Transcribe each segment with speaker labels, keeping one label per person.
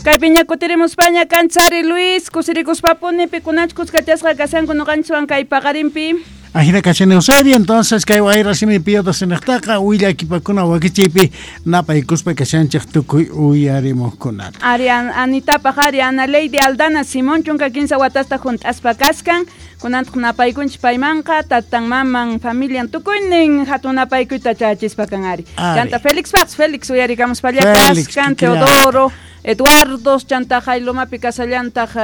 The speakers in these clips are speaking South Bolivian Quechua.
Speaker 1: Kaypiña kutirimuspaña kanchari Luis, kusirikuspapuni pikunach kuskachasqa kashanku noqanchikwan kay paqarinpi.
Speaker 2: Ajina kashan Eusebia, entonces kay wayra simi piyota willakipakuna wakichiypi napaykuspa kashanchik tukuy uyarimuqkunata.
Speaker 1: Ari Anitapaq ari Ana Lady Aldana Simón chunka kinsa watasta junt'aspa kaskan, kunantaq napaykunchik paymanqa tatan maman familian tukuynin hatun napaykuyta chayachispa kan ari. Chanta Félix Paz, Félix uyarikamuspalla kaskan, Teodoro, Eduardo, chanta Jailomapi kasallantaq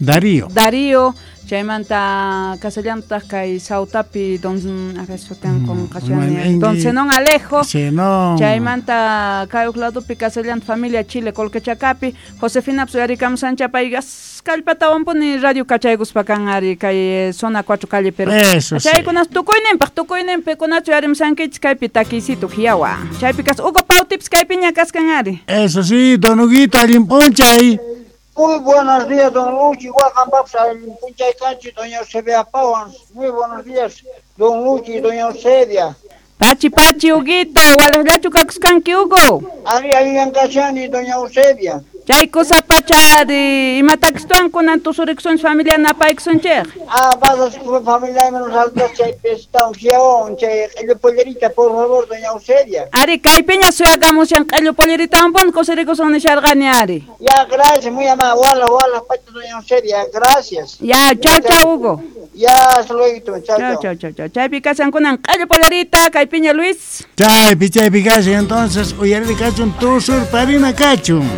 Speaker 2: Darío.
Speaker 1: Darío, chaymanta kasallantaq kay Sautapi don a ver sutin qonqashani don Zenón Alejo.
Speaker 2: Zenón.
Speaker 1: Chaymanta kay uq ladopi kasallantaq familia Chile Colquechacapi, Josefina uyarikamusancha payqa kallpatawanpuni radio kachaykuspa kan ari kay zona 4 calle Perú. Chaykunas tukuyninpaq tukuyninpi kunachu uyarimusankichik kaypi takiysitu hiyawa. Chaypi kas Hugo Pautips kaypiña kaskan ari.
Speaker 2: Eso sí, don Huguito, allin p'unchay.
Speaker 3: Muy buenos días, don Luchi. Igual Punchay Canchi, doña Eusebia Pawans. Muy buenos días, don Luchi y doña Eusebia.
Speaker 1: Pachi, pachi, Huguito. Walajllachu kakuskanki, Hugo.
Speaker 3: Ari, allan kashani, doña Eusebia.
Speaker 1: Chay kusa pacha imatakstuan kunan tusuriksunchik familia napaykusunchik.
Speaker 3: Ah, vas a familia menos alta chay pestan hiyawan chay q'illu pollerita, por favor, doña Eusebia.
Speaker 1: Ari, kaypiña suyakamushan q'illu polleritawan kusirikusun nisharqani ari.
Speaker 3: Ya, gracias, muy amable. Wala, wala, pacha, doña Eusebia, gracias.
Speaker 1: Ya, chao, chao, Hugo.
Speaker 3: Ya, hasta luego, chao,
Speaker 1: chao. Chao, chao, chao. Chaypi kashan kunan q'illu pollerita, kaypiña Luis.
Speaker 2: Chaypi, chaypi kashan, entonces, uyariri kachun, tusur parina kachun.